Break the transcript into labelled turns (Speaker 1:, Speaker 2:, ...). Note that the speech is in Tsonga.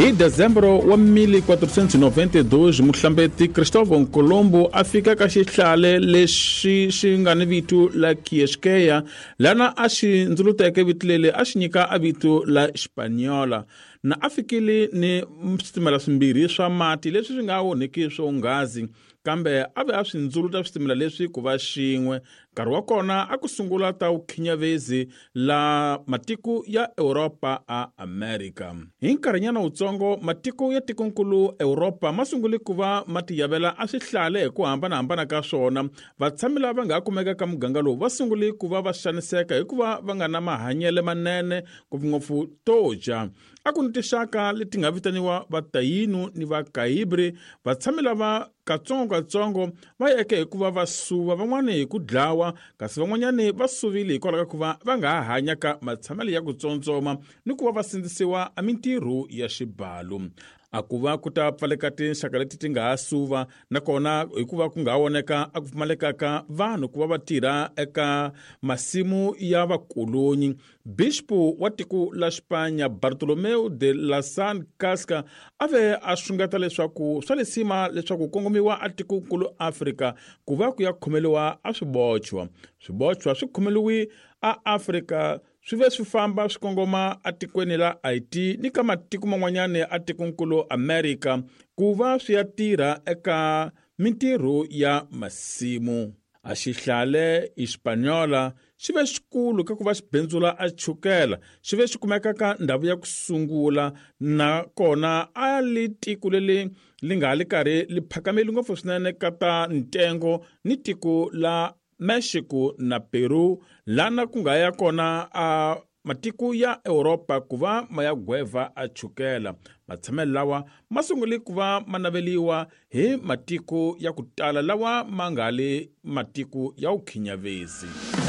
Speaker 1: Hi Dezembro wa 1492 muhlambeti Cristóvão Colombo a fika ka xihlale lexi xi nga ni vito la Kieskeya lana a xi ndzuluteke vito leri a xi nyika a vito la Hispaniola na a fikile ni switimela swimbirhi swa mati leswi swi nga onhiki swonghazi kambe a ve a swi ndzuluta switimela leswi ku va xin'we. Nkarhi wa kona a ku sungula ta vukhinyavezi la matiko ya Europa a Amerika. Hi nkarhinyana wutsongo, matiko ya tikonkulu Europa ma sungule ku va ma tiyavela a swihlale hi ku hambana-hambana ka swona. Vatshami lava nga ha kumeka ka muganga lowu va sungule ku va va xaniseka hikuva va nga na mahanyele manene, ngopfungopfu to dya. A ku ni tinxaka leti nga vitaniwa Vatayinu ni Vakaibri. Vatshami lava katsongo-katsongo va yeke hi ku va va suva, van'wana hi ku dlawa, kasi van'wanyana va suvile hikwalaho ka ku va va nga ha hanya ka matshamelo ya ku tsontsoma ni ku va va sindzisiwa mintirho ya xibalo. A ku va ku ta pfaleka tinxaka leti ti nga ha suva, nakona hikuva ku nga ha voneka a ku pfumaleka ka vanhu ku va va tirha eka masimu ya vakolonyi. Bixpo wa tiko la Xipanya Bartolomeu de la San Casca a ve a xungeta leswaku swa lisima leswaku kongomiwa a tikonkulu Afrika ku va ku ya khomeliwa a swibochwa. Swibochwa swi khomeliwi a Afrika swi ve swi famba swi kongoma atikweni la Haiti ni ka matiko man'wanyana a tikonkulu Amerika ku va swi ya tirha eka mintirho ya masimu. A xihlale Hispaniola xi ve xikulu ka ku va xi bindzula a chukela xi ve xi kumeka ka ndhawu ya ku sungula nakona a li tiko leri li nga li karhi li phakameli ngopfu swinene ka ta ntengo ni tiko la Mexico na Peru lana ku nga ya kona a matiko ya Europa ku va ma ya gweva a chukela. Matshamelo lawa ma sungule ku va ma naveliwa hi matiko ya ku tala lawa ma nga li matiko ya vukhinyavezi.